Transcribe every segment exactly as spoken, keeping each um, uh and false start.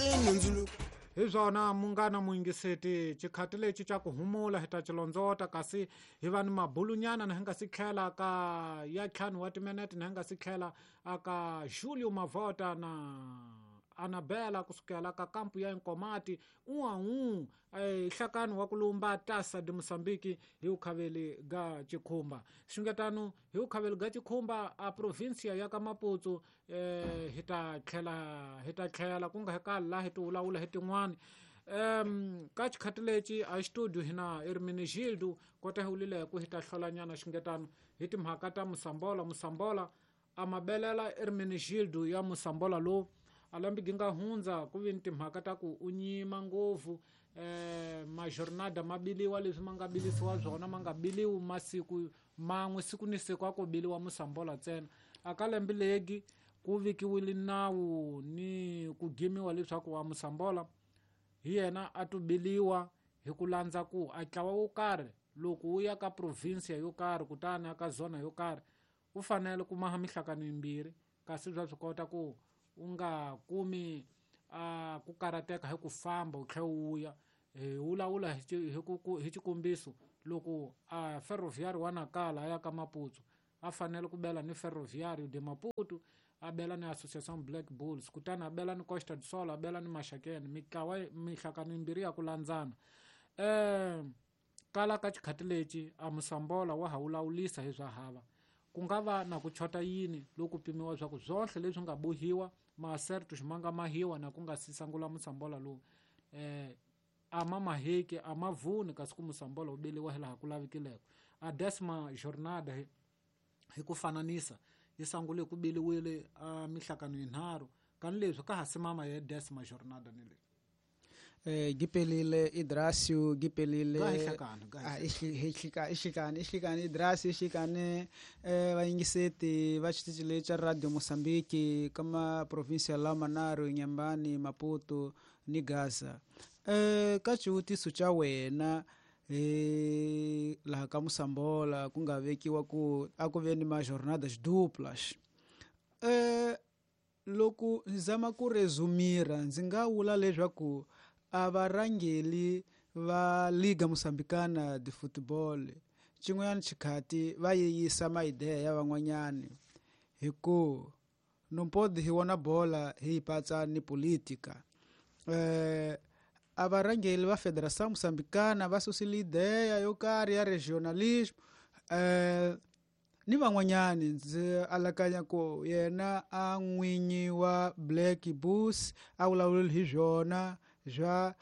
Hi swona munghana muyingiseti xikhati lexi xa ku humula hi ta xilondzota kasi hi va ni mabulunyana na hi nga si tlhela ka ya ntlhanu wa timinete na hi nga si tlhela aka Julio Mavota na Anabela kusukela ka kampu ya Nkomati uau nhlakano wa ku lumba Taça de Moçambique hi ukhaveli ga Chikhumba xingetano hi ukhaveli ga Chikhumba a provincia ya ka Maputo eh hi ta tlhela hi ta tlhela ku nga hi ka la hi ti vulavula hi tin'wani um ka xikhati lexi a studio hina Hermenegildo kota hi wulile ku hi ta hlolanyana xingetano hi timhaka ta Mosambola Mosambola a mabelela Hermenegildo ya Mosambola lowu a lembe gi nga hundza ku vi ni timhaka ta ku u nyima ngopfu eh majornada ma biliwa leswi ma nga bilisiwa swona ma nga biliwi masiku man'we siku ni siku a ko biliwa Mosambola ntsena a ka lembe legi ku vikiwile nawu ni ku gimiwa leswaku wa Mosambola hi yena a to biliwa hi ku landza ku a ntlawa wo karhi loko wu ya ka provinsia yo karhi kutani aka zona yo karhi u fanele ku maha mihlakano yimbirhi kasi bya swi kota ku u nga kumi a ku karateka hi ku famba u tlhela u vuya hi vulavula hi ku hi xikombiso loko a Ferroviário wa Nacala a ya ka Maputo a fanele ku bela ni Ferroviário de Maputo a bela ni Associação Black Bulls kutani a bela ni Costa do Sol a bela ni Maxakene mitlawa mihlakano yimbirhi ya ku landzana um kala ka xikhati lexi a Mosambola wa ha vulavulisa hi swa hava ku nga va na ku chota yini loko pimiwa swa ku swohle leswi nga bohiwa maasertos ma nga mahiwa na ku nga si sangula Mosambola lowu eh a ma maheki a ma vuni kasi ku Mosambola wu beliwa hi laha ku lavikileko a décima jornada hi, hi ku fananisa yi sangule ku beliwile a mihlakano yinharhu kani leswi ka ha simama ya décima jornada ni leyi Eh gipelile Idrasio gipelile ah ihlika ihlikani ihlikani Idrasio ihlikani eh vayingiseti va xitichi lexa Radio Moçambique kama provincia la Manaro Inhambane Maputo ni Gaza eh ka xivutiso xa wena eh laha ka Mosambola ku nga vekiwa ku a ku ve ni ma jornadas duplas eh loko ndzi zama ku resumira ndzi nga vula leswaku a varhangeli va Liga Moçambicana de Futebol xin'wanyana xikhati va yeyisa maideya ya van'wanyani hi ku no pode hi vona bola hi yi patsa ni politika eh a varhangeli va Federação Moçambicana va susile ideya yo karhi ya regionalismo eh ni van'wanyani ndzi alakanya ku yena a n'winyi wa Black Bulls a vulavulile hi swona swa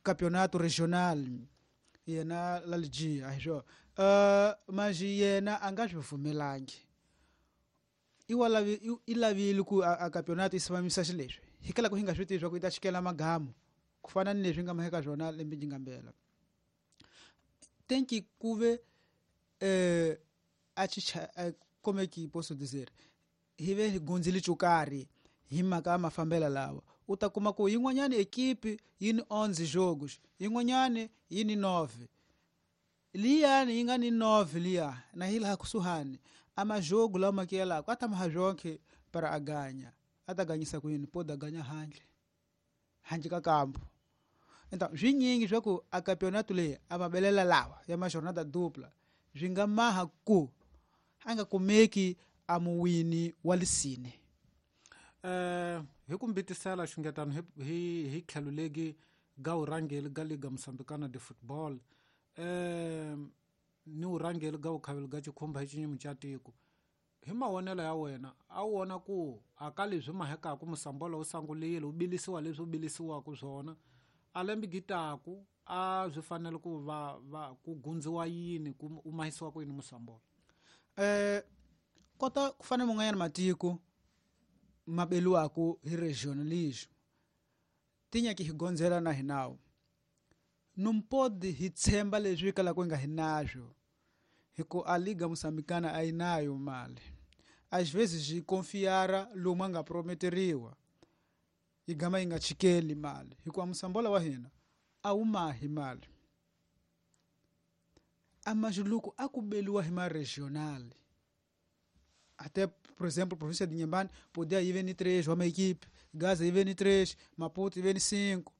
campeonato regional yena Laljia a hi swona uh, manji yena a nga swi pfumelangi i lavi i lavile ku a, a campeonato yi simamisa xileswi hikala ku hi nga swi tivi swa ku yi ta xikela magamu ku fana ni leswi nga maheka swona lembe ji nga mbela tenki kuve eh a chicha como é que posso dizer hi ve hi gundzile xo karhi hi mhaka ya mafambela lawa u ta kuma ku yin'wanyana ekipi yi ni onze jogos yin'wanyana yi ni nove liyani yi nga ni nove liya na hi laha kusuhani a majogo lawa ma kiyelaka a ta maha zonke para a ganha a ta ganyisa ku yini pode a ganha handle handle ka kampo então swinyingi swa ku a campeonato leyi a mabelela lawa ya ma jornada dupla swi nga maha ku a nga kumeki a muwini wa lisine eh hi ku mbitisela xingetano hi hi hi tlhelo legi ga urhangeli ga Liga Moçambicana de Football eh ni urhangeli ga ukhaveli ga Chikhumba hi xinyimi xa tiko hi mavonelo ya wena a wu vona ku a ka leswi mahekaku Mosambola wu sangulile wu bilisiwa leswi wu bilisiwaka swona a lembe gitaku a swi fanele ku va va ku gundziwa yini ku u mahisiwa ku yini Mosambola eh kota ku fana man'wanyana matiko ma beliwaku hi regionalism tinyaki hi gondzela na hi nawu não pode hi tshemba leswi kalaka hi nga hi naswo hi ku a Liga Moçambicana a yi nayo mali às vezes hi confiara lomu a nga prometeriwa yi gama yi nga chikeli mali hikuva Mosambola wa hina a wu mahi mali a majuluku a ku beliwa hi ma regional Até, por exemplo, a província de Inhambane podia ir V N três, uma equipe, Gaza I V N três, Maputo I V N cinco,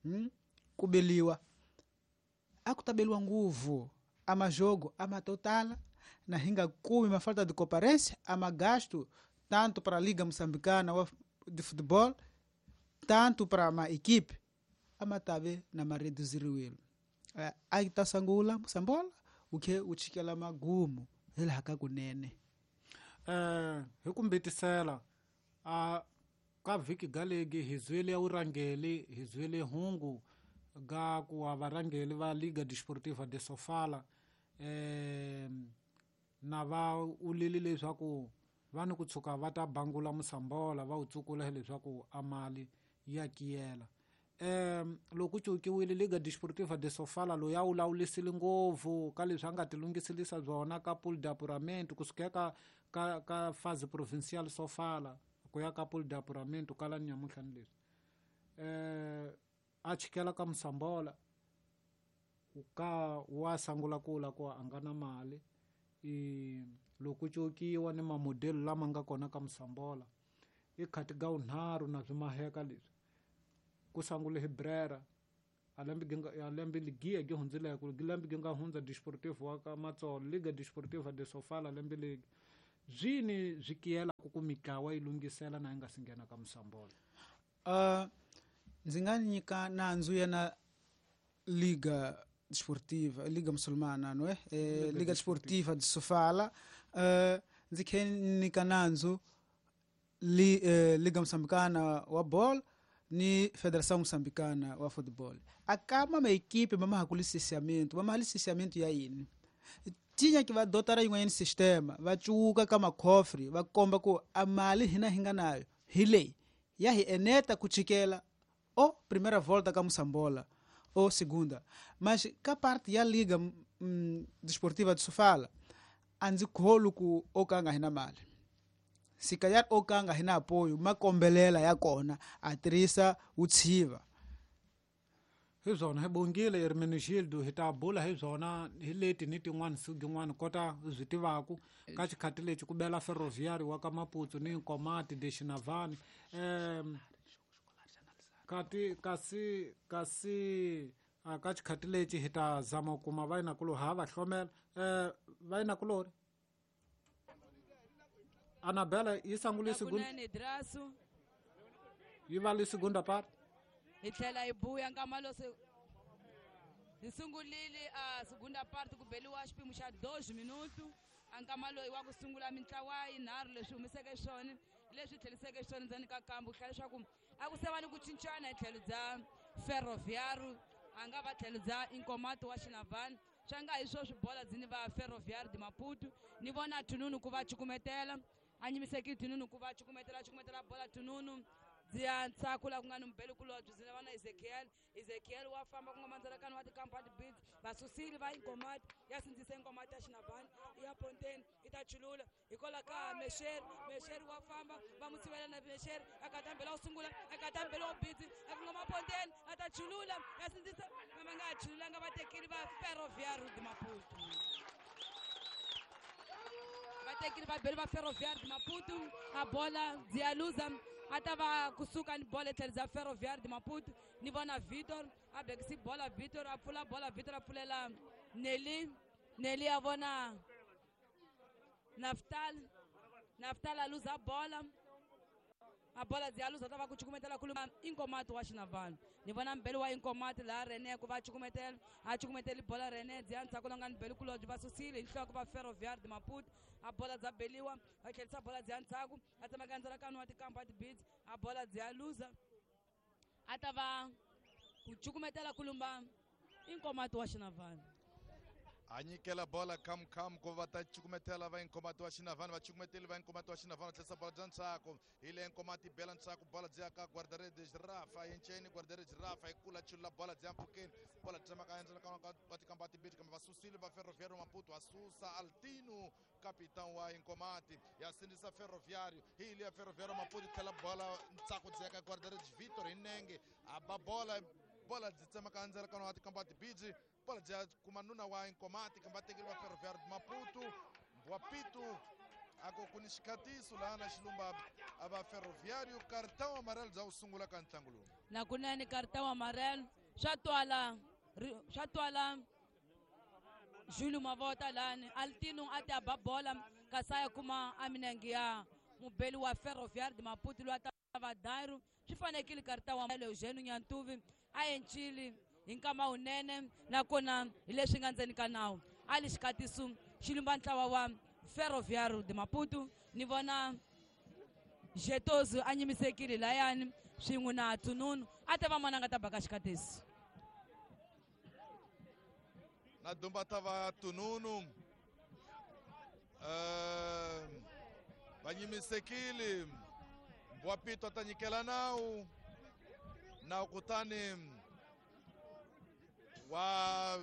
hum? Kubeliwa. Akutabeliwa nguvu, ama jogo, ama totala, na hinga kumi, uma falta de comparência, ama gasto, tanto para a Liga Moçambicana de Futebol, tanto para uma equipe, ama tabe na mareduziriwilo. Aita sangula, Moçambola, o que o chikela magumo, ele hakakunene. Eh, hi ku mbitisela a ka vhiki galegi hi zwile urangeli hi zwile hungu ga ku wa varangeli va Liga Desportiva de Sofala eh na va ulile leswaku va ni ku tshuka va ta bangula Moçambola va wu tsukula leswaku amali ya kiyela. Eh loko cukiwile Liga Desportiva de Sofala lo ya ulawulisile ngopfu ka leswi a nga tilunghiselisa byona ka pool d'apuramento kusuka ka ka ka phase provincial Sofala ku ya ka pool d'apuramento kala nyamuhla ni leswi eh a chikela ka Moçambola ka wa sangula kula ku a nga na mali i loko cukiwa ni mamodelo lama nga kona ka Moçambola i khati ga unharhu na swimaheka leswi ku sangule hi Brera alembe ginga alembe ligia gi hundzile ku lembe ginga hundza Desportivo wa ka Matsolo Liga Desportiva de Sofala lembe legi zwini zwikiyela ku ku mitlawa yi lunghisela na nga singena ka Moçambola. Uh ndzi nga nyika nandzu yana Liga Desportiva Liga Musulmana no eh Liga Desportiva de Sofala uh ndzi khe nyika nandzu li, eh, Liga Moçambicana wa ball ni Federação Moçambicana wa Futebol. Akama ma equipe mama hakuli licenciamento, mama licenciamento ya yini. Tinha que va dotara yin'wanyana sistema, va cuka ka makhofri, va komba ku a mali hina hi nga nayo hi leyi ya hi eneta ku chikela o primeira volta ka Moçambola ou segunda. Mas ka parte ya Liga mm, Desportiva de Sofala a ndzi kholu ku o ka nga hina mali. Se calhar o ka nga hina apoio, makombelela ya kona a tirhisa utshiva. Hi swona hi bongile Hermenegildo hi ta bula hi swona hi leti ni tin'wana siku gin'wana kota byi tivaku ka xikhati lexi ku bela Ferroviário wa ka Maputo ni Nkomati de Xinavani um kati kasi kasi a ka xikhati lexi hi ta zama ku kuma vayinakulo ha va hlomela um vayinakulori Anabela yi sangule segunda yi va le segunda parte hi tlhela hi buya nkama lo se hi sungulile a segunda parte ku beliwa xipimo xa dois minuto a nkama loyi wa ku sungula mintlawa yinharhu leswi humiseke swona leswi tlheliseke swona ndzeni ka kambu ku hlaya leswaku a ku se va ni ku cincana hi tlhelo bya Ferroviário a nga va tlhelo bya Inkomati wa Xinavani swa nga hi swo swibola dzini va Ferroviário de Maputo ni vona Tununu ku va cukumetela a nyimiseki Tununu ku va cukumetela cukumetela bola Tununu dzia ntsako la ku nga ni mubeli kulobye byi va na Ezekiel Ezekiel wa famba ku nga mandzelakani wa tikampani beats vasusile va Inkomati ya sindzisa Inkomati ya Xinavani ya Ponteni yi ta chulula hikwalaho ka Mesher Mesher wa famba va mu sivela na Mesher a katambela wo sungula a katambela wo beats a ku nga Maponteni a ta chulula ya sindzisa va nga chululanga va tekile va Ferroviário de Maputo va tekile va beli va Ferroviário de Maputo a bola dzia luza a ta va kusuka ni bola etlhelo bya Ferroviário de Maputo ni vona Vitor a bekisi bola Vitor a pfula bola Vitor a pfulela Nelly Nelly a vona Naftal Naftal a luza bola a bola dzi a luza ta va ku cukumetela kuluma Inkomati wa Xinavani ni vona mbeli wa Inkomati laha Rene ku va cukumetela a cukumeteli bola Rene dzi ya ndzhaku la nga ni beli kulobye va susile hi nhloko va Ferroviário de Maputo a bola dza beliwa va tlherisa bola dzi ya ndzhaku a tsemaka ndzalakano wa tikampa tibits a bola dzi ya luza a ta va ku cukumetela kulumba Inkomati wa Xinavani a nyikela bola kam kam ku va ta cukumetela va Inkomati wa Xinavani va cukumeteli va Inkomati wa Xinavani va tlherisa bola bya ntsako hi le Inkomati bela ntsako bola byi ya ka guarda-redes Rafa yinceni guarda-redes Rafa hi kula chulula bola byi ya mpfhukeni bola tsemaka endzalakano wa tikampa tibiti kambe va susile va Ferroviário Maputo va susa Altino capitão wa Inkomati ya sindzisa Ferroviário hi le ya Ferroviário Maputo tlhela bola ntsako byi ya ka guarda-redes Vitor hi nenge a ba bola bola byi tsemaka endzalakano wa tikampa tibiti bola bya kuma nuna wa Inkomati kambe va tekeriwa Ferroviário de Maputo wa Pitu A ku ku ni xikhatiso laha na xilumba a va Ferroviário cartão amarelo bya ku sungula ka ntlangu lowu. Nakunene cartão amarelo swa twala swa twala Júlio Mavota lani Altino a ta ba bola kasi a ya kuma a minenge ya mubeli wa Ferroviário de Maputo loyi a ta va Dairo swi fanekile cartão amarelo Eugênio Nyantuvi a encile hi nkama wunene nakona hi leswi nga ndzeni ka nawu a li xikhatiso xi lumba ntlawa wa Ferroviário de Maputo ni vona Jetozo a nyimisekile layani swin'we na Tununu a ta va mona nga ta baka xikhatiso. Na dumba ta va Tununu uh, va nyimisekile Mbwapito a ta nyikela nawu nawu kutani wa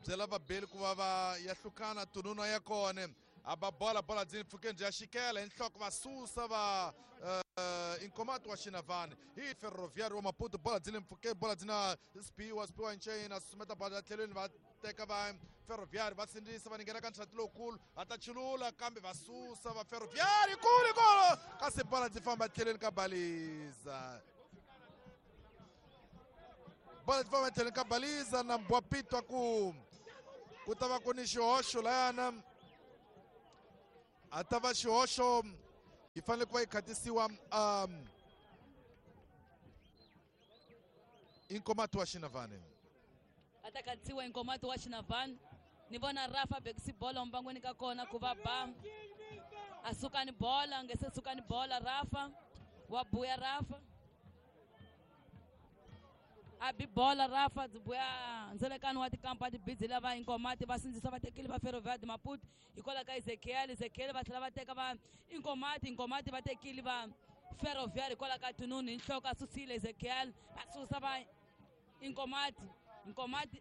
byela vabeli ku va va ya hlukana Tununu ya kona a ba bola bola byi pfukeni bya xikela hi nhloko va susa va uh, Inkomato wa Xinavani hi Ferroviário wa Maputo bola byi le mpfhukeni bola byi na Spiwa Spiwa Nchena susumeta bola tlhelweni va teka va Ferroviário va sindzisa va ninghena ka nxati lowukulu va ta chulula kambe va susa va Ferroviário kule kolo kasi bola byi famba tlhelweni ka baliza bola byi famba tlhelweni ka baliza na Mbwapito ku ku ta va ku ni xihoxo layana a ta va xihoxo yi fanele ku va yi khatisiwa um Inkomato wa Xinavani a ta khatisiwa Inkomato wa Xinavani ni vona Rafa bekisi bola mbangweni ka kona ku va ba a suka ni bola nge se suka ni bola Rafa wa buya Rafa a bi bola Rafa byi buya ndzelekano wa tikampa tibidzi lava Inkomati va sindzisa va tekile va Ferroviário de Maputo hikwalaho ka Ezekiel Ezekiel va tlhela va teka va Inkomati Inkomati va tekile va Ferroviário hikwalaho ka Tununu hi nhloko a susile Ezekiel va susa va Inkomati Inkomati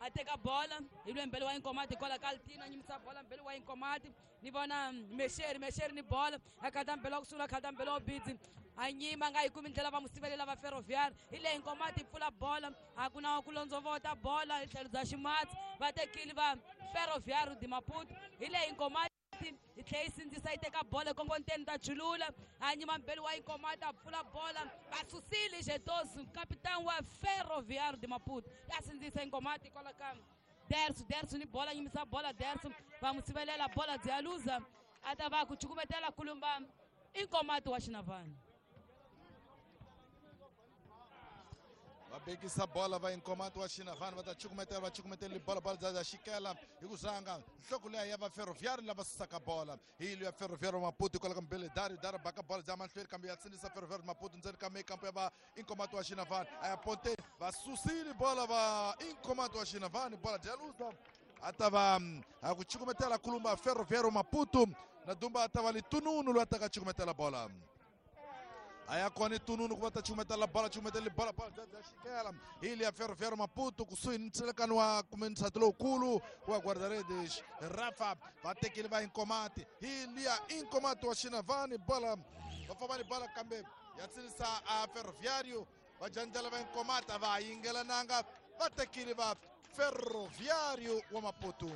a teka bola hi lwembele wa Inkomati hikwalaho ka Altino a nyimisa bola mbele wa Inkomati ni vona Mexeri Mexeri ni bola a khata mbele wa ku sungula khata mbele wa bidzi a nyima a nga yi kumi ndlela va mu sivelela va Ferroviário hi leyi Inkomati yi pfula bola a ku na ku londzovota bola hi tlhelo bya ximatsi va tekile va Ferroviário de Maputo hi leyi Inkomati yi tlhela yi sindzisa yi teka bola ekongonteni ta chulula a nyima mbele wa Inkomati a pfula bola va susile Jetoso capitão wa Ferroviário de Maputo ya sindzisa Inkomati hikwalaho ka Derso Derso ni bola nyimisa bola Derso va mu sivelela bola byi ya luza a ta va ku cukumetela kulumba Inkomati wa Xinavani. Va bekisa bola va Inkomato wa Xinavani va ta cukumetela va cukumetela bola bola bya xikela hi ku zanga nhloko leya ya va Ferroviário lava susaka bola hi liya Ferroviário Maputo hikwalaho ka mbele Dario Dario baka bola bya mahlweni kambe ya sindzisa Ferroviário Maputo ndzeni ka mekampo ya va Inkomato wa Xinavani a ya ponteni va susile bola va Inkomato wa Xinavani bola bya luza a ta va a ku cukumetela kulumba Ferroviário Maputo na dumba a ta va Litununu loyi a ta ka cukumetela bola aya kona Tununu ku va ta cukumetela bola cukumetela bola bola bya xikela hi liya Ferroviário Maputo kusuhi ni ntselekano wa kumbe ntshato lowukulu wa guarda-redes Rafa va tekile va Inkomati hi liya Inkomati wa Xinavani bola va famba ni bola kambe ya tsinisa a Ferroviário va jandlela va Inkomati a va yingelananga va tekile va Ferroviário wa Maputo.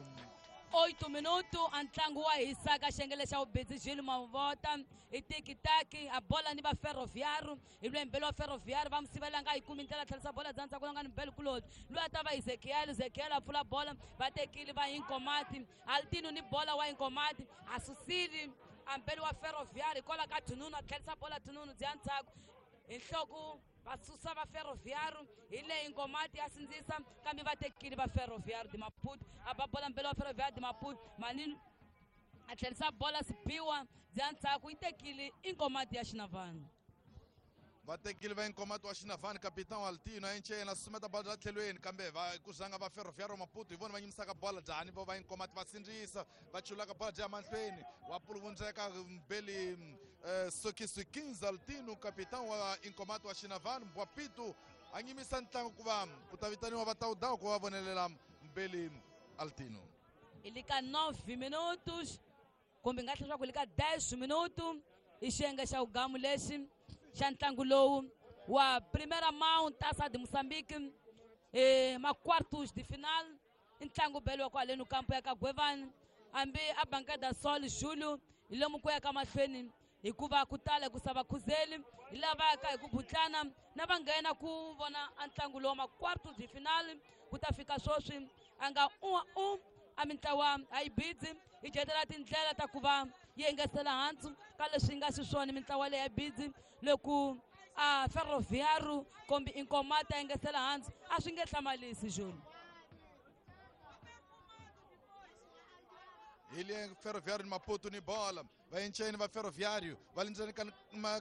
Oito minutos a ntlangu wa hisa ka xengele xa vubedzi Júlio Mavota hi tiki-taki a bola ni va Ferroviário hi lwembele wa Ferroviário va mu sivela nga yi kumi ndlela tlherisa bola bya ndzhaku nga ni mbele kuloni loyi a ta va Ezekiel Ezekiel a pfula bola va tekile va Inkomati Altino ni bola wa Inkomati a susile a mbele wa Ferroviário hikwalaho ka Tununu a tlherisa bola Tununu bya ndzhaku hi nhloko va susa va Ferroviário hi leyi Inkomati ya sindzisa kambe va tekile va Ferroviário de Maputo a ba bola mbele wa Ferroviário de Maputo manini a tlherisa bola Sipiwa bya ndzhaku yi tekile Inkomati ya Xinavani. Va tekile va Inkomati wa Xinavani capitão Altino a encena susumeta bola bya tlhelweni kambe va ku zanga va Ferroviário Maputo hi vona va nyimisaka bola njhani vo va Inkomati va sindzisa va chulaka bola bya mahlweni wa puluvundzeka mbeli eh, Sokisi quinze Altino capitão wa Inkomati wa Xinavani Mbwapito a nyimisa ntlangu ku va ku ta vitaniwa va tawudawu ku va vonelela mbeli Altino. Hi le ka nove minutos kumbe nga tlhela swa ku le ka dez minutos i xiyenge xa vugamu lexi xa ntlangu lowu wa Primeira Mão Taça de Moçambique eh, ma quartos de final i ntlangu beliwa kwaleno kampo ya ka Gwevani Hambi a Bancada Sol Julio hi lomu ku ya ka mahlweni hikuva ku tala ku sava khuzeli hi lava yaka hi ku butlana na va nghena ku vona a ntlangu lowu ma quarto de finale ku ta fika sweswi a nga u u a mintlawa a yi bidzi yi dyetela tindlela ta ku va yi engetela hansi ka leswi nga xiswona mintlawa leyi ya bidzi loko a Ferroviário kombi Inkomati a engetela hansi a swi nge hlamalisi Julio. Ile Ferroviário Maputo ni bola va encheni va Ferroviário va lindzeni ka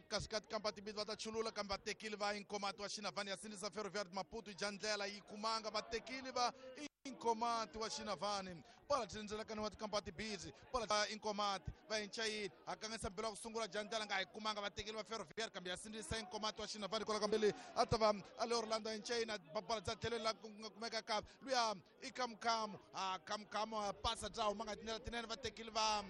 kasikati kampa tibidi va ta chulula kambe va tekile va Inkomati wa Xinavani ya sindzisa Ferroviário Maputo jandlela yi kumanga va tekile va Inkomati wa Xinavani bola tindzelekani wa tikampa tibidi bola va Inkomati va enchayini hakangisa mbilo wa ku sungula jandlela nga yi kumanga va tekile va Ferroviário kambe ya sindzisa Inkomati wa Xinavani kwala kambili a ta va a le Orlando enchayini bola dza tlhelweni la ku nga kumeka ka luya i Kamukhamu a Kamukhamu a pasa dza huma nga tindlela tinene va tekile va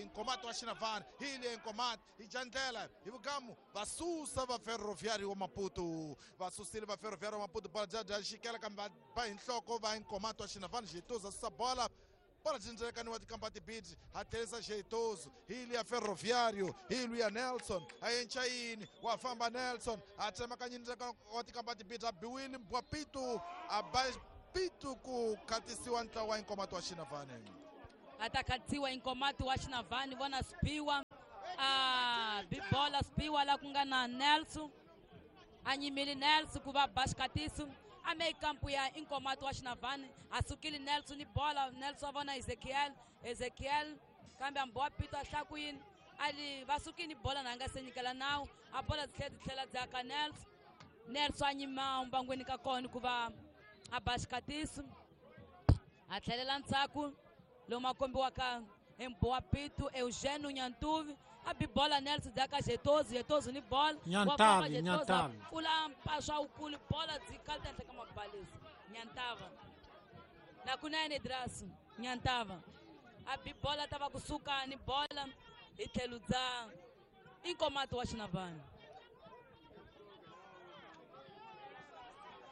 Inkomati wa Xinavani hi le Inkomati hi jandlela hi vugamu va susa va Ferroviário wa Maputo va susile va Ferroviário wa Maputo bola dza dya xikela kambe va ba hi nhloko va Inkomati wa Xinavani Jeitoso susa bola bola dzindzekani wa tikampa tibidi ha tlherisa Jeitoso hi le ya Ferroviário hi luya Nelson a enchayini wa famba Nelson a tsemakanyini wa tikampa tibidi a biwile Mbwapito a ba pitu ku khatisiwa ntlawa wa Inkomati wa Xinavani a ta khatisiwa Inkomati wa Xinavani vona Spiwa a bibola Spiwa la ku nga na Nelson a nyimile Nelson ku va ba xikatiso a me kampu ya Inkomati wa Xinavani a sukile Nelson ni bola Nelson a vona Ezekiel Ezekiel kambe ambowa pito a hlaku yini a li va sukile ni bola na nga se nyikela nawu a bola dzi tlhela dzi tlhela dzi aka Nelson Nelson a nyima mbangweni ka kona ku va a ba xikatiso a tlhelela ndzhaku lomu a kombiwaka hi Mbowa Pito Eugênio Nyantuvi a bi bola Nelson dzi aka Jeitoso Jeitoso ni bola Nyantavi Nyantavi pfula mpaswa wukulu bola dzi kalta henhla ka mabalisi Nyantava na kunene Drasu Nyantava a bi bola ta va kusuka ni bola hi tlhelo dza Inkomati wa Xinavani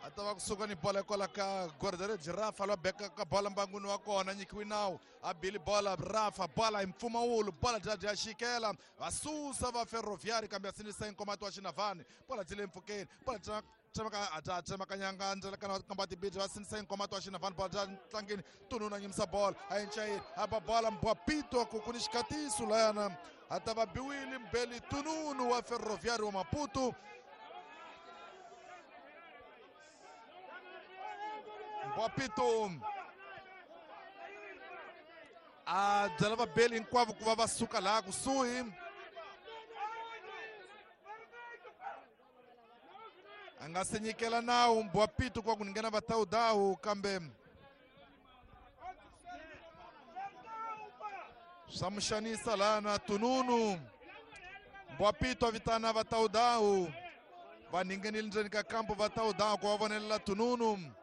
a ta va kusuka ni bola kwala ka guarda-redes Rafa lwa beka ka bola mbangwini wa kona nyikiwi nawu a bili bola Rafa bola hi mpfumawulo bola dya dya xikela va susa va Ferroviário kambe ya sindzisa Inkomati wa Xinavani bola dyi le mpfhukeni bola dya tsemaka a dya tsemakanyanga ndzelekana wa tikampa tibidi va sindzisa Inkomati wa Xinavani bola dya ntlangeni tununa nyimisa bola a enchayini a ba bola Mbwapito ku ku ni xikatiso layana a ta va biwile mbeli tununu wa Ferroviário wa Maputo Mbwapito a byela vabeli hinkwavo ku va va suka laha kusuhi a nga se nyikela nawu Mbwapito ku va ku nghena vatawudawu kambe swa mu xanisa laha na tununu Mbwapito a vitana vatawudawu va ninghenile ndzeni ka kampu vatawudawu ku va vonelela tununu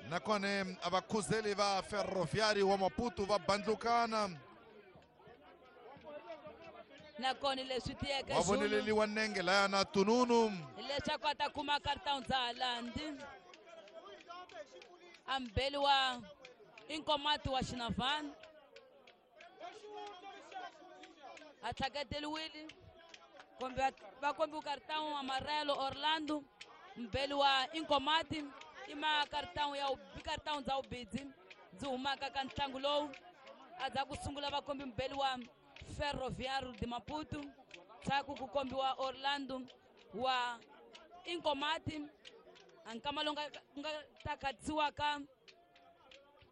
nakona a vakhuzeli va Ferroviário wa Maputo va bandlukana nakona leswi tiyeke va voneleliwa nenge laya na tununu leswaku a ta kuma cartão dza Halandi a mbeli wa Inkomati wa Xinavani a tlhaketeliwile kumbe va kombiwe cartão amarelo Orlando mbeli wa Inkomati i ma cartão ya cartão dza ubidzi dzi humaka ka ntlangu lowu a dza ku sungula va kombi mbeli wa Ferroviário de Maputo ndzhaku ku kombiwa Orlando wa Inkomati a nkama lowu nga nga ta khatisiwaka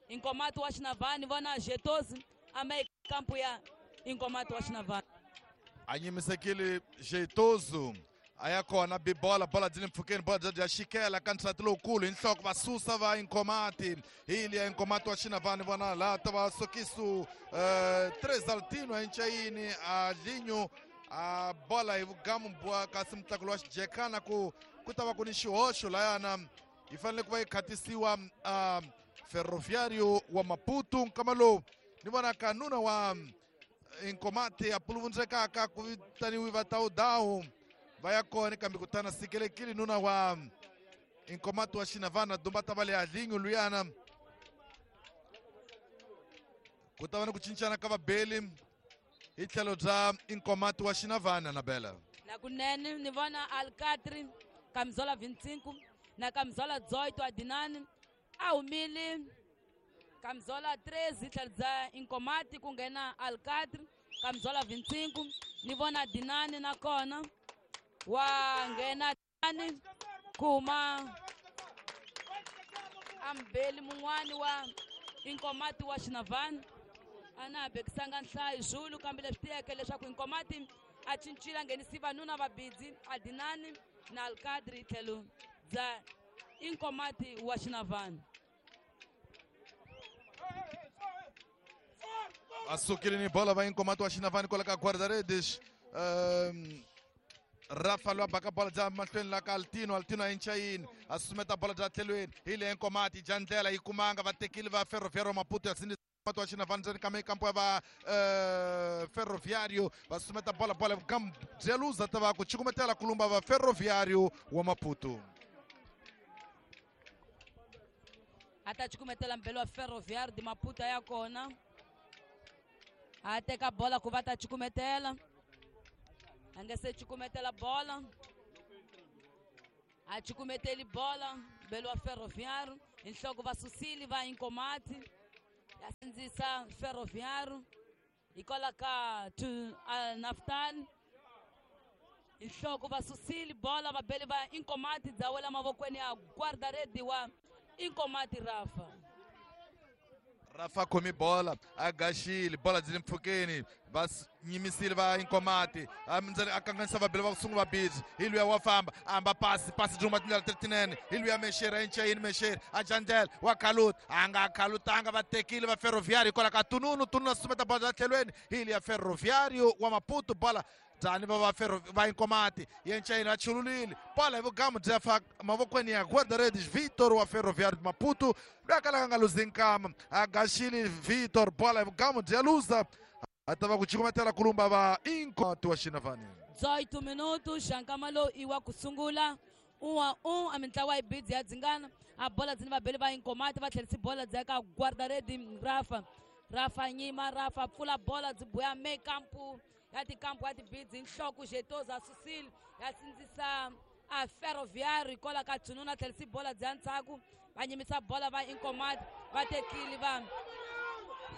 Inkomati wa Xinavani vona Jeitoso a ma kampu ya Inkomati wa Xinavani a nyimisekile Jeitoso a ya kona bibola bola dyi le mpfhukeni bola dya dya xikela ka ntlhati lowukulu hi nhloko va susa va Inkomati hi liya Inkomati wa Xinavani vona laha ta va sokisu Tresaltino a enchayini a linyo a bola hi vugamu bwa kasi mutlakulo wa xijekana ku ku ta va ku ni xihoxo layana yi fanele ku va yi khatisiwa a Ferroviário wa Maputo nkama lowu ni vona ka nuna wa Inkomati a puluvundzekaka ku vitaniwi vatawudawu va ya kona kambe kutana sikelekile nuna wa Inkomati wa Xinavana dumba ta va le Adlinho luyana. Ku ta va ni ku cincana ka vabeli hi tlhelo bya Inkomati wa Xinavana na Bela. Nakunene ni vona Alcatri camisola vinte e cinco na camisola dezoito Adinani a humile camisola treze tlhelo bya Inkomati ku nghena Alcatri camisola vinte e cinco ni vona Adinani nakona wa nghena Adinani kuma ambeli mun'wani wa Inkomati wa Xinavana ana bekisanga nhlayo Zulu kambe leswi tiyeke leswaku Inkomati a cincile a nghenisi vanuna vabidzi Adinani na Alcadri tlhelo bya Inkomati wa Xinavana. A sukile ni bola va Inkomati wa Xinavana kwala ka guarda-redes. Um, Rafa lwa baka bola bya mahlweni la ka Altino, Altino a inchayini a susumeta bola bya tlhelweni hi le Inkomati dya ndlela yi kumanga va tekile va Ferroviário Maputo ya sindzisa wa Xinavana ndzeni ka mikampo ya va uh, Ferroviário va susumeta bola bola bya luza ta va ku cukumetela kulumba va Ferroviário wa Maputo. A ta cukumetela mbelo wa Ferroviário de Maputo ya kona a teka bola ku va ta cukumetela a nga se cukumetela bola a cukumeteli bola mbelo wa Ferroviário hi nhloko va susile va Inkomati ya sindzisa Ferroviário hikwalaho ka Naftal hi nhloko va susile bola vabeli va Inkomati bya wela mavokweni ya guarda-rede wa Inkomati Rafa. Rafa khomi bola a gaxile bola byi le mpfhukeni va nyimisile va Inkomati ndzeni a kanganyisa vabeli va ku sungula vabidzi hi luya wa famba a hamba pasi pasi byi huma tindlela letinene hi luya Mexeri a incayini Mexeri a dya ndlela wa khaluta a nga khalutanga va tekile va Ferroviário hikwalaho ka Tununu Tununu a susumeta bola bya tlhelweni hi luya Ferroviário wa Maputo bola byani va va Ferro va Inkomati yencayini va chululile bola hi vugamu bya fa mavokweni ya guarda-redes Vitor wa Ferroviário de Maputo loyi a kalaka a nga luzi nkama a gaxile Vitor bola hi vugamu bya luza a ta va ku cukumetela kulumba va Inkomati wa Xinavana. dezoito minutos nkama lowu i wa ku sungula um a um a mintlawa yi bidzi ya dzingana a bola dzini vabeli va Inkomati va tlherisi bola dzi ya ka guarda-rede Rafa. Rafa nyima Rafa pfula bola byi buya mekampu ya tikampu ya tibidzi nhloko Jetoza a susile ya sindzisa a Ferroviário hikwalaho ka Jununa tlherisi bola bya ndzhaku va nyimisa bola va Inkomati va tekile va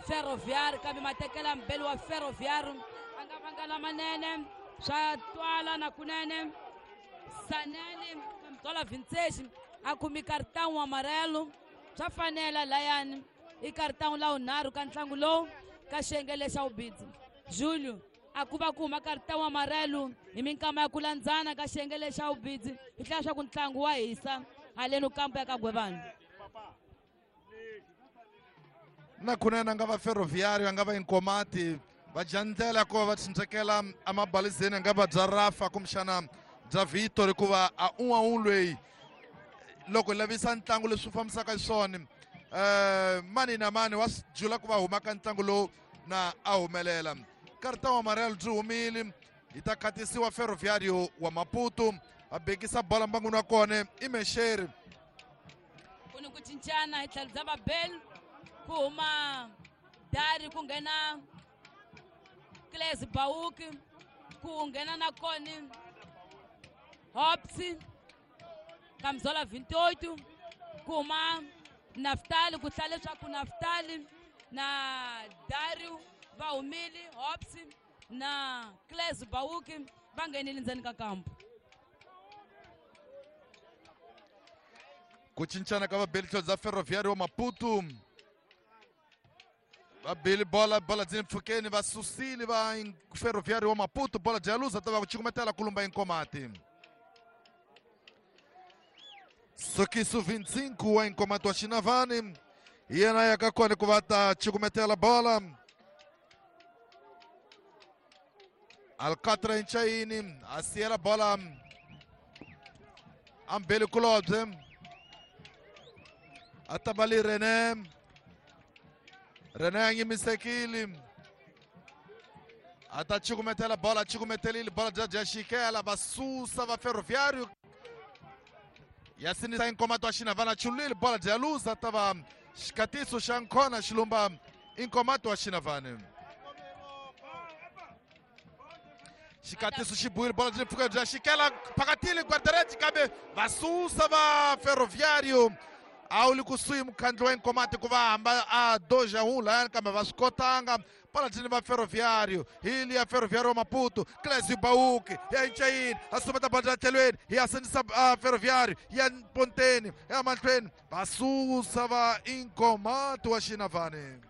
Ferroviário kambe matekela mbeli wa Ferroviário a nga vanga lamanene swa twala na kunene Sanene twala vinte a kumi cartão amarelo swa fanela layani i cartão la wunharhu ka ntlangu lowu ka xiyenge lexa vubidzi Julio a ku va ku huma cartão amarelo hi minkama ya ku landzana ka xiyenge lexa vubidzi hi tlhela swa ku ntlangu wa hisa haleni kampo ya ka Gwevana. Na kunene a nga va Ferroviário a nga va Inkomati va dya ndlela ku va va tshunxekela emabalizeni a nga va bya Rafa kumbexana bya Vitor hikuva a un'we un'we loyi loko hi lavisa ntlangu leswi fambisaka xiswona um mani na mani wa swi jula ku va huma ka ntlangu lowu na a humelela. Cartão amarelo byi humile yi ta khatisiwa Ferroviário wa Maputo a bekisa bola mbangwini wa kona i Mexeri. Ku ni ku cincana hi tlhelo bya vabeli ku huma Dari ku nghena Claes Bauki ku nghena na koni Hops camisola vinte e oito ku huma Naftali ku hlaya leswaku Naftali na Dario va humile Hops na Claes Bauki va nghenile ndzeni ka kampu. Ku cincana ka vabeli tlhelo bya Ferroviário wa Maputo vabeli bola bola byi le mpfhukeni va susile va Ferroviário wa Maputo bola bya luza ta va ku cukumetela kulumba Inkomati. Sokiso vinte e cinco wa Inkomati wa Xinavani yena ya ka kona ku va ta cukumetela bola. Alcatra inchayini a siyela bola ambeli kulobye a ta va li René René a nyimisekile a ta cukumetela bola a cukumetelile bola bya bya xikela va susa va Ferroviário Ya sinisa Inkomati wa Xinavana chulile bola bya luza ta va xikatiso xa nkhona xilumba Inkomati wa Xinavana. Xikatiso xi buwile bola byi pfuka bya xikela phakatile guarda-redes kambe va susa va Ferroviário. A wu li kusuhi mukhandlu wa Inkomati ku va hamba a doja un layani kambe va swi kotanga. Bola byi ni va Ferroviário. Hi liya Ferroviário wa Maputo. Clésio Bauque ya Inchayini a sumeta bola bya tlhelweni ya sinisa Ferroviário ya Ponteni ya mahlweni va susa va Inkomati wa Xinavane.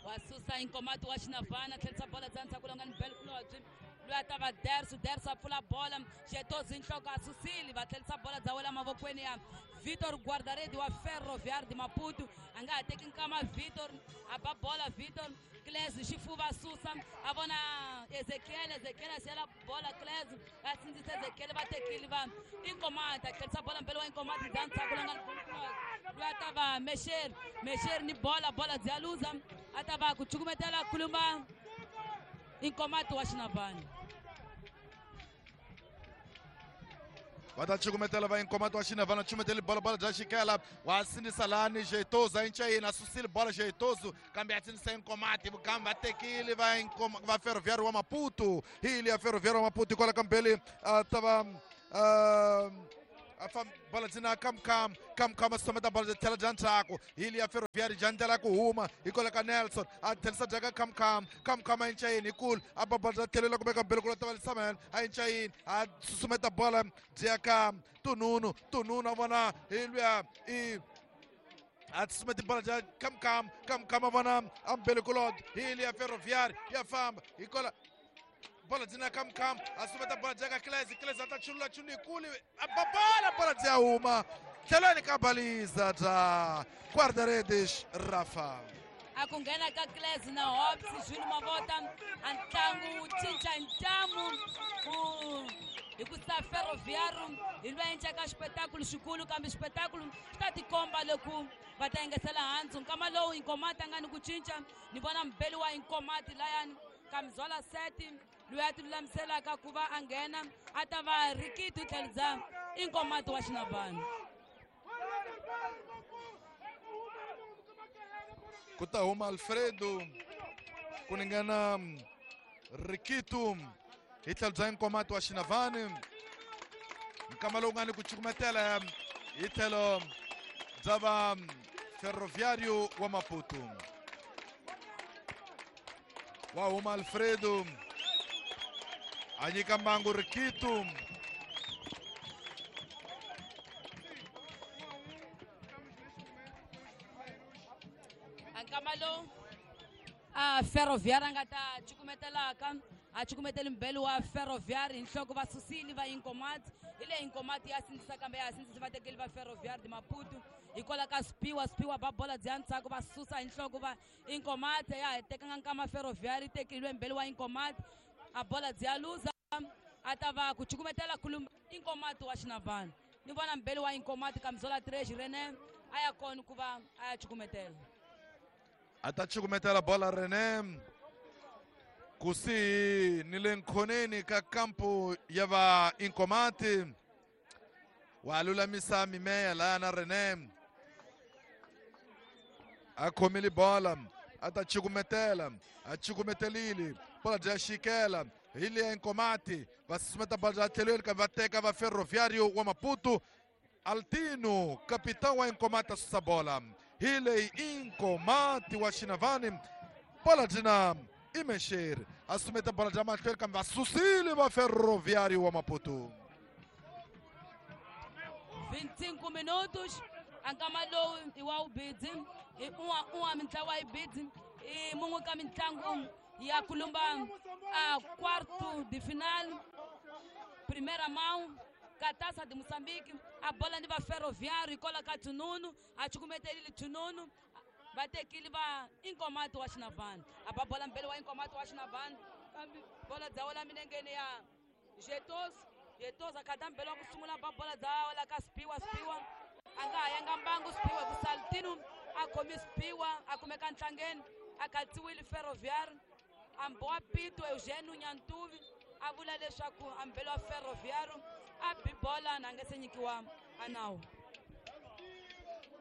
Va susa Inkomati wa Xinavana tlherisa bola bya ndzhaku lowu nga ni bell kulobye loyi a ta va Derso Derso a pfula bola Xetozi nhloko a susile va tlherisa bola bya wela mavokweni ya Vitor Guardaredi wa Ferroviário de Maputo. A nga ha teki nkama Vitor a ba bola Vitor Clésio xifuva a susa a vona Ezekiel Ezekiel a siyela bola Clésio a sindzisa Ezekiel va tekile va Inkomati a tlherisa bola mbele wa Inkomati bya ndzhaku lowu nga ni loyi a ta va Mesher Mesher ni bola bola bya luza a ta va ku cukumetela kulumba Inkomati wa Xinavana. Va ta cukumetela va Inkomati wa Xinavana cukumeteli bola bola bya xikela wa sinisa lani Jeitozo a Inchayini a susile bola Jeitozo kambe a sinisa Inkomati vukambe va tekile va Inkoma va Ferroviário wa Maputo. Hi liya Ferroviário wa Maputo hikwalaho ka mbele a ta va a bola dzina Kamkam Kamkam a susumeta bola bya tlhela bya ndzhaku. Hi liya Ferroviário bya ndlela ku huma hikwalaho ka Nelson a tlherisa bya ka Kamkam Kamkam a Inchayini hikulu a ba bola bya tlhelela kumbe ka mbele ku lota va Samuel a Inchayini a susumeta bola byi ya ka Tununu Tununu a vona hi luya i a susumeta bola bya Kamkam Kamkam a vona a mbele kulot. Hi liya Ferroviário ya famba hikwalaho bola dzina Kamkam a sumeta bola bya ka Clésio Clésio a ta chulula chulu yikulu a ba bola bola bya huma tlhelweni ka baliza bya guarda-redes Rafa. A ku nghena ka Clésio na Hobbs Jules Mavota a ntlangu wu cinca ntamu ku hi ku sa Ferroviário hi lwa encaka xipetakulu xikulu kambe xipetakulu xi ta tikomba loko va ta engetela handzu. Nkama lowu Inkomati a nga ni ku cinca ni vona mbeli wa Inkomati layani Kamzola Seti loyi a ti lulamiselaka ku va a nghena a ta va Rikitu tlhelo bya Inkomati wa Xinavana. Ku ta huma Alfredo ku ringana Rikitu hi tlhelo bya Inkomati wa Xinavana. Nkama lowu nga ni ku cukumetela hi tlhelo bya va Ferroviário wa Maputo. Wa huma Alfredo a nyika mbangu Rikitu. Nkama lowu a Ferroviário a nga ta cukumetelaka a cukumeteli mbele wa Ferroviário hi nhloko va susile va Inkomati. Hi leyi Inkomati ya sindzisa kambe ya sindzisa va tekeli va Ferroviário de Maputo hikwalaho ka Spiwa Spiwa ba bola bya ndzhaku va susa hi nhloko va Inkomati ya ha tekanga nkama Ferroviário yi tekile mbele wa Inkomati a bola bya luza a ta va ku cukumetela kulumba Inkomati wa Xinavana. Ni vona mbele wa Inkomati Kamzola Tres René a ya kona ku va a ya cukumetela. A ta cukumetela bola René kusihi ni le nkhoneni ka kampu ya va Inkomati. Wa lulamisa mimeya laya na René a khomile bola a ta cukumetela a cukumetelile bola bya xikela hi liya Inkomati va susumeta bola bya tlhelweni kambe va teka va Ferroviário wa Maputo. Altino capitão wa Inkomati a susa bola. Hi leyi Inkomati wa Xinavani bola dzina Imexer a sumeta bola bya mahlweni kambe va susile va Ferroviário wa Maputo. vinte e cinco minutos a nkama lowu i wa ubidzi i un'wa un'wa mintlawa yi bidzi i mun'we ka mitlangu ya kulumba a quarto de final primeira mão ka Taça de Moçambique. A bola ni va Ferroviário hikwalaho ka Tununu a cukumetelile Tununu va tekile va Inkomati wa Xinavana a ba bola mbele wa Inkomati wa Xinavana kambe bola bya wela milengeni ya Jetos Jetos a khata mbele wa ku sungula ba bola bya wela ka Spiwa Spiwa a nga ha yanga mbangu Spiwa ku Saltino a khomi Spiwa a kumeka ntlangeni a khatsiwile Ferroviário a mbowa Pito Eugênio Nyantuvi a vula leswaku a mbele wa Ferroviário A bi bola na nga se nyikiwa a nawu.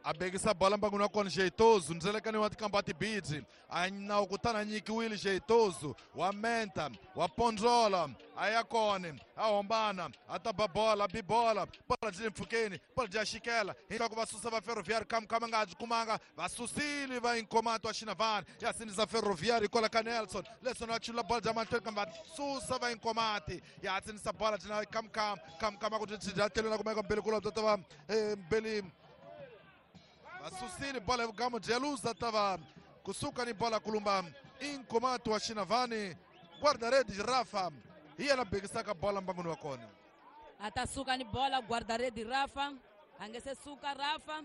A bekisa bola mbanguni wa kona Jeitoso ndzelekani wa tikamba tibidzi a nawu kutani a nyikiwile Jeitoso wa menta wa pondzola a ya kona a hombana a ta ba bola bi bola bola byi le mpfhukeni bola byi ya xikela hinkwako va susa va Ferroviário Khamkham a nga ha byi kumanga va susile va Inkomato wa Xinavani ya sindzisa Ferroviário hikwalaho ka Nelson Nelson a chulula bola bya mahlweni kambe va susa va Inkomati ya sindzisa bola byi na Khamkham Khamkham a ku byi bya tlhelo na kumeka mbeli kulobye bya ta va mbeli vasusile bola ya vugamu bya tava kusuka ni bola kulumba Inkomato wa Xinavani guarda-redes Rafa hi yena bekisaka bola mbanguni wa kona. A ta suka ni bola guarda-redes Rafa a nge se suka Rafa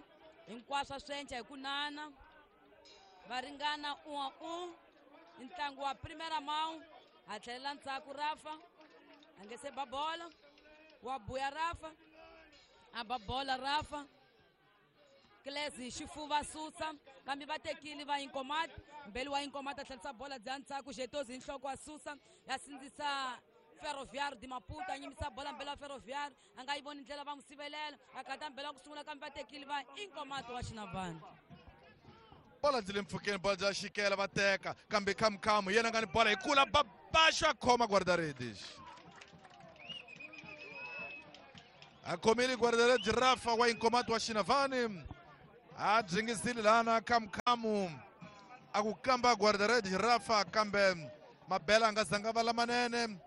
hinkwaswo swi enca hi ku nana va ringana un a un i ntlangu wa primera mão a tlhelela ndzhaku Rafa a nge se ba bola wa buya Rafa a ba bola Rafa Klezi xifuva susa kambe va tekile va Inkomati mbeli wa Inkomati a tlherisa bola bya ndzhaku Jeitoso hi nhloko wa susa ya sindzisa Ferroviário de Maputo a nyimisa bola mbeli wa Ferroviário a nga yi voni ndlela va n'wi sivelela a kata mbeli wa ku sungula kambe va tekile va Inkomati wa Xinavani. Bola byi le mpfhukeni bola bya xikela va teka kambe Khamkham yena nga ni bola hi kula babaxo a khoma guarda-redes a khomile guarda-redes Rafa wa Inkomati wa Xinavani a dzingisile lana Khamkham a ku kamba guarda-redes Rafa kambe mabela a nga zanga va lamanene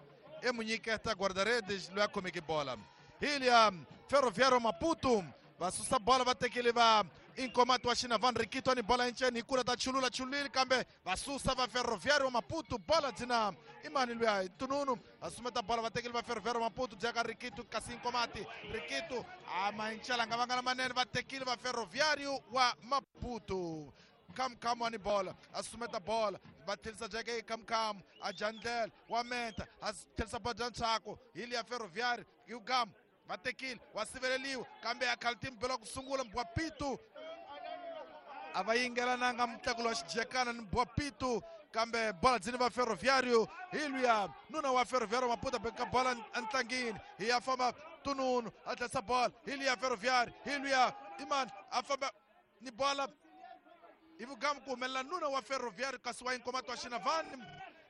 e mu nyiketa guarda-redes loyi a khomeke bola hilia Ferroviário Maputo va susa bola va tekile va Inkomato wa Xinavani Rikito ni bola enceni hi kula ta chulula chulile kambe va susa va Ferroviário Maputo bola dzina i mani luya Tununu a sumeta bola va tekile va Ferroviário Maputo bya ka Rikito kasi Inkomati Rikito a mancela nga vanga lamanene va tekile va Ferroviário wa Maputo Khamkham wa ni bola a sumeta bola va tlherisa jeke Khamkham a jandlela wa menta a tlherisa bola bya ntshaku hi liya Ferroviário Yugamu va tekile wa siveleliwa kambe a khalti mbelo ku sungula Mbwapitu a va yingelananga mutlakulo wa xijekana ni Mbwapitu kambe bola dzini va Ferroviário hi luya nuna wa Ferroviário Maputo a beka bola entlangini hi ya famba Tununu a tlherisa bola hi liya Ferroviário hi luya imani a famba ni bola hi vugamu ku humelela nuna wa Ferroviário kasi wa Inkomato wa Xinavani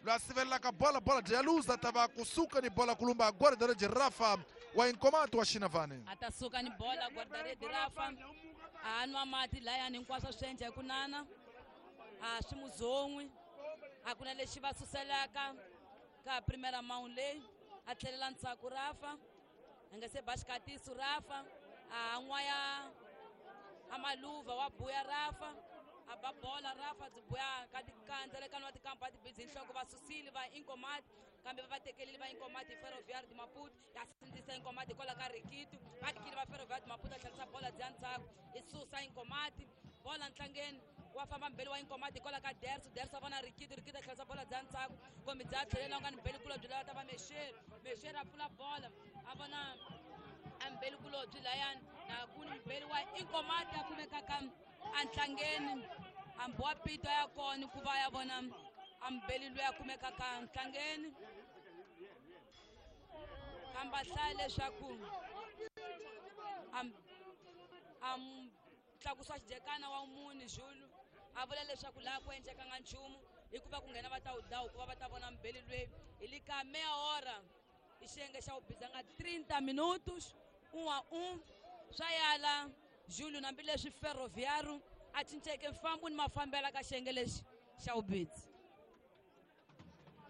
loyi a sivelelaka bola bola bya luza ta va kusuka ni bola kulumba guarda-redes Rafa wa Inkomato wa Xinavani. A ta suka ni bola guarda-redes Rafa a nwa mati layani hinkwaswo swi endla hi ku nana a swi muzon'wi a ku na lexi va suselaka ka primera mão leyi a tlhelela ndzhaku Rafa a nga se ba xikatiso Rafa a n'waya a maluva wa buya Rafa a ba bola Rafa byi buya ka tikandzelekano wa tikampa tibidzi hi nhloko va susile va Inkomati kambe va va tekelile va Inkomati hi Ferroviário de Maputo ya sindzisa Inkomati hikwalaho ka Rikito va tekile va Ferroviário de Maputo a tlherisa bola bya ndzhaku i susa Inkomati bola ntlangeni wa famba mbeli wa Inkomati hikwalaho ka Derso Derso a vona Rikito Rikito a tlherisa bola bya ndzhaku kumbe bya tlhelela u nga ni mbeli kulobye loyi a ta va Mexeri Mexeri a pfula bola a vona a mbeli kulobye layani na ku ni mbeli wa Inkomati a kumekaka antlangeni hambi wa pito ya kona ku va ya vona ambeli loyi a kumekaka ntlangeni kambe a hlaya leswaku a tlakusa xijekana wa muni Zulu a vula leswaku laha ku endlekanga nchumu hikuva ku nghena va ta wudawu ku va va ta vona mbeli loyi hi le ka meia hora i xiyenge xa wubizanga trinta minutos un a un swa yala Júlio hambileswi Ferroviário a cinceke mfambo ni mafambelo ka xiyenge lexi xa wubidzi.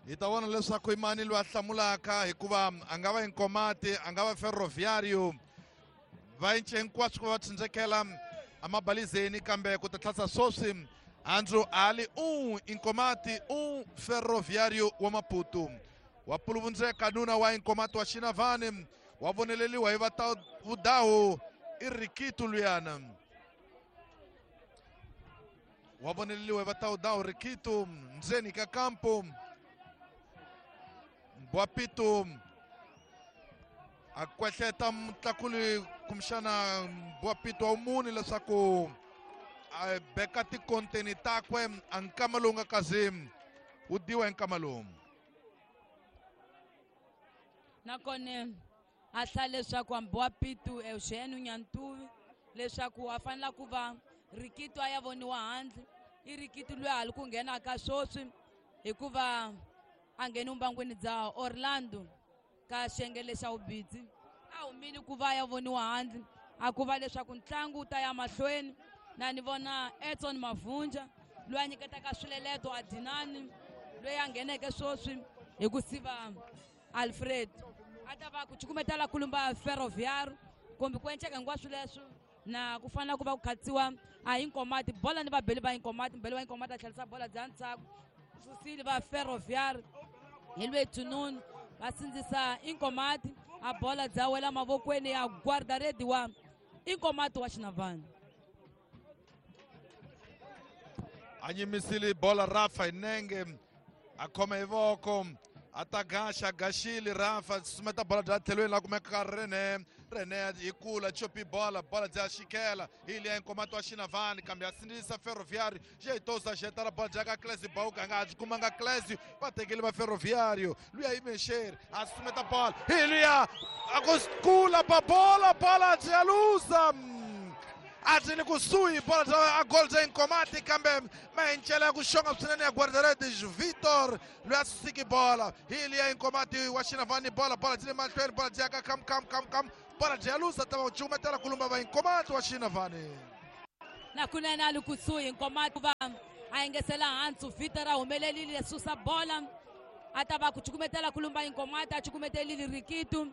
Hi ta vona leswaku i mani loyi a hlamulaka hikuva a nga va Inkomati a nga va Ferroviário va cince hinkwaswo ku va va tsindzekela amabalizeni kambe ku ta tlhasa sweswi Andrew Ali un Inkomati un Ferroviário wa Maputo wa puluvundzeka nuna wa Inkomati wa Xinavani wa voneleliwa hi va ta vudawu i Rikito luyana wa voneleliwa hi va ta vudawu Rikito ndzeni ka kampo Mbwapitu a kwehleta mutlakuli kumbexana Mbwapitu wa muni leswaku a beka tikonteni takwe a nkama lowu nga kazi wu diwa hi nkama lowu. Nakona A hlaya leswaku hambi wa Pitu Eugene Nyantuvi leswaku a fanela ku va Rikitu a ya voniwa handle. I Rikitu loyi a li ku nghenaka sweswi hikuva a ngheni mbangwini bya Orlando ka xiyenge lexa vubidzi. A humile ku va ya voniwa handle, a ku va leswaku ntlangu wu ta ya mahlweni. Na ni vona Edson Mavunja loyi a nyiketaka swileleto a Dinani loyi a ngheneke sweswi hi ku siva Alfred. A ta va ku cukumetela kulumba Ferroviário kumbe ku enceka hinkwaswo leswo na ku fanela ku va ku khatsiwa a Inkomati bola ni vabeli va Inkomati. Mbeli wa Inkomati a tlherisa bola bya ndzhaku, susile va Ferroviário hi lwe Tununu va sindzisa Inkomati, a bola bya wela mavokweni ya guarda-rede wa Inkomati wa Xinavani. A nyimisile bola Rafa hi nenge, a khoma hi voko, a ta gaxa gaxile Rafa, sumeta bola bya tlhelweni la kumeka Rene. Rene hi kula chopi bola, bola bya xikela hi liya Inkomati wa Xinavani, kambe a sindzisa Ferroviário. Jeitosa xetara bola bya ka Clésio Bauka, nga ha byi kumanga Clésio, va tekile va Ferroviário. Luya yi mexeri, a sumeta bola hi liya a ku kula pa bola, bola bya luza. A byi le kusuhi bola bya a gol bya Inkomati, kambe mahencela ya ku xonga swinene ya guarda-redes Vitor loyi a susiki bola hi liya Inkomati wa Xinavani. Bola bola byi le mahlweni, bola byi ya ka kam kam kam kam, bola byi ya luza, ta va ku cukumetela kulumba va Inkomati wa Xinavani. Na kunene a li kusuhi Inkomati va a yingisela hansi, Vitor a humelelile susa bola, a ta va ku cukumetela kulumba Inkomati, a cukumetelile Rikitu.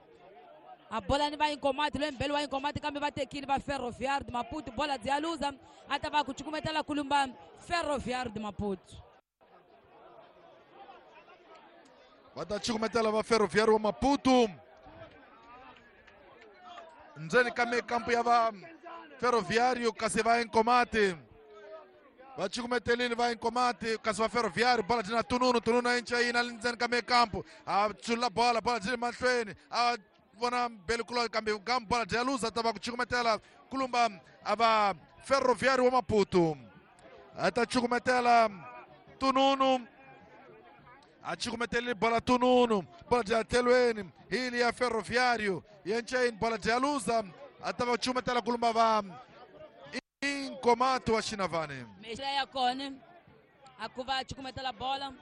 A bola ni va Inkomati loyi mbeli wa Inkomati, kambe va tekile va Ferroviário de Maputo. Bola byi ya luza, a ta va ku cukumetela kulumba Ferroviário de Maputo. Va ta cukumetela va Ferroviário wa Maputo ndzeni ka mikampu ya va Ferroviário, kasi va Inkomati va cukumetelile va Inkomati, kasi va Ferroviário. Bola byi na Tununu, Tununu a encayina le ndzeni ka mikampu, a chula bola, bola byi le mahlweni, a vona mbeli kulo, kambe gamu bola bya luza, ta va ku cukumetela kulumba a va Ferroviário wa Maputo. A ta cukumetela Tununu, a cukumetelile bola Tununu, bola bya tlhelweni hi liya Ferroviário yencayini, bola bya luza, a ta va cukumetela kulumba va Inkomati wa Xinavani. Mexela ya kona a ku va a cukumetela bola,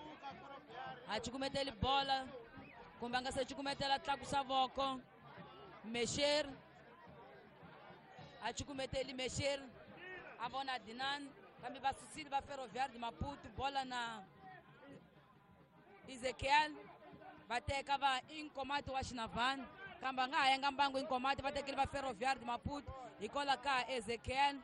a cukumeteli bola kumbe a nga se cukumetela tlakusa voko Mesher, a cukumeteli Mesher, a vona Dinan, kambe va susile va Ferroviário de Maputo. Bola na Ezekiel va teka va Inkomati wa Xinavani, kambe a nga ha yanga mbangu Inkomati, va tekile va Ferroviário de Maputo hikwalaho ka Ezekiel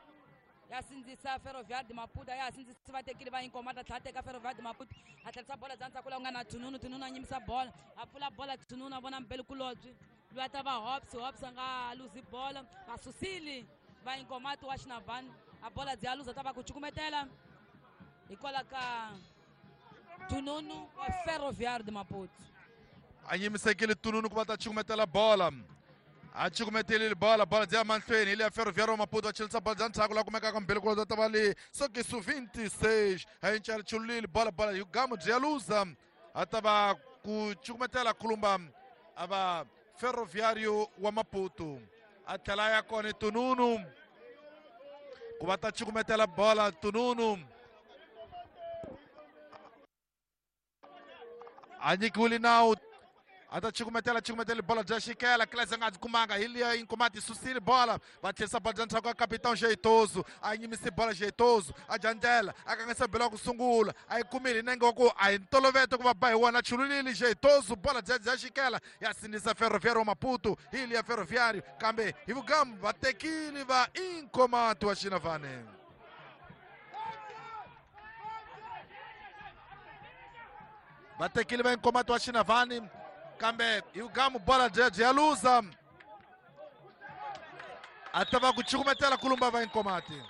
ya sindzisa Ferroviário de Maputo, ya sindzisa va tekile va Inkomati, a tlhela teka Ferroviário de Maputo, a tlherisa bola bya ndzhaku laha ku nga na Tununu. Tununu a nyimisa bola, a pfula bola Tununu, a vona mbeli kulobye loyi a ta va Hobbs, Hobbs a nga luzi bola, va susile va Inkomati wa Xinavani, a bola bya luza, ta va ku cukumetela hikwalaho ka Tununu wa Ferroviário de Maputo. A nyimisekile Tununu ku va ta cukumetela bola, a cukumetelile bola, bola bya mahlweni hi liya Ferroviário wa Maputo, va chelisa bola bya ndzhaku laha kumekaka mbeli kulo ta va le sokisu vinte e seis, a encela chululile bola, bola hi gamu bya luza, a ta va ku cukumetela kulumba a va Ferroviário wa Maputo. A tlhela ya kona Tununu ku va ta cukumetela bola Tununu a nyikiwile nawu, a ta cukumetela cukumetela bola bya xikela Clésio a nga byi kumanga hi liya Inkomati susile bola, va tlherisa bola bya ndzhaku ka Capitão Jeitoso, a nyimise bola Jeitoso, a dya ndlela, a kanganyisa bela wa ku sungula, a yi kumile hi nenge wa ku a hi ntoloveta ku va ba hi wona, chululile Jeitoso, bola bya bya xikela ya sindzisa Ferroviário wa Maputo hi liya Ferroviário, kambe hi vugamu va tekile va Inkomati wa Xinavani. Va tekile va Inkomati wa Xinavani, kambe hi vugamu bola bya bya luza, a ta va ku cukumetela kulumba va Inkomati.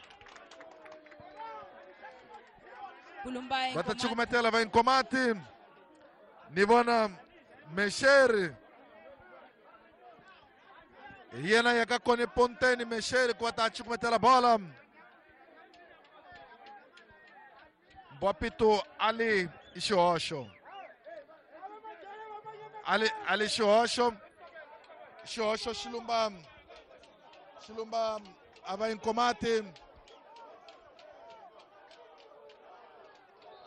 Kulumba Va ta Inkomati. Cukumetela va Inkomati, ni vona Mexeri hi yena ya ka kone ponteni Mexeri ku va ta cukumetela bola. Mbwapito ali i xihoxo, ali ali xihoxo. Xihoxo xilumba xilumba a va Inkomati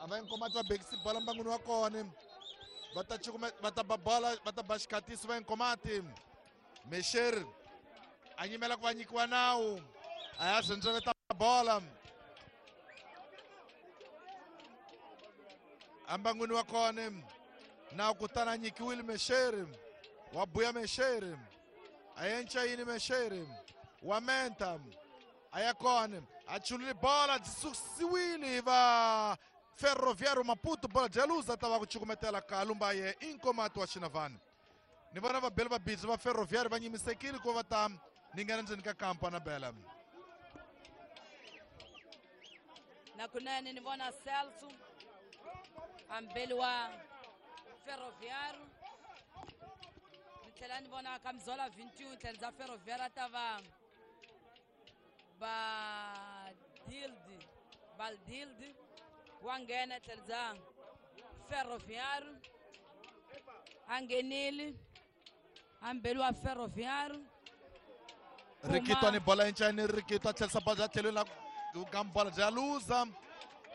a va Inkomati va bekisi bola mbangwini wa kona va ta cukume va ta ba bola va ta ba xikhatiso va Inkomati Mesher a nyimela ku va nyikiwa nawu a ya rhendzeleta bola ambangwini wa kona nawu kutani a nyikiwile Mesher wa buya Mesher a yenca yini Mesher wa menta a ya kona a chulile bola byi susiwile hi va Ferroviário Maputo bola bya luza ta va ku cukumetela ka lumba ye Inkomati wa Xinavani ni vona vabeli va bidzi va Ferroviário va nyimisekile ku va ta ni nghena ndzeni ka kampa na bela na kunene ni vona Celso ambeli wa Ferroviário ni tlhela ni vona Kamzola vingt-et-un tlhela bya Ferroviário ta va Badildi Baldildi wa nghena tlhela bya Ferroviário a nghenile ambeli wa Ferroviário Rikitwa ni bola encani Rikitwa tlherisa bola bya tlhelweni la ka bola bya luza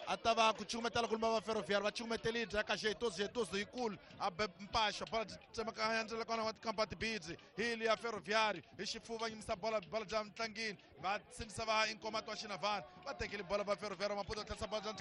a ta va ku cukumetela kulumba va Ferroviário va cukumeteli bya ka Jeitoso Jeitoso yikulu a be mpaxo bola byi tsemakanya ndzela kona wa tikampa tibidzi hi liya Ferroviário hi xifuva nyimisa bola bola bya ntlangini va sindzisa va Inkomati wa Xinavani va tekile bola va Ferroviário Maputo tlherisa bola bya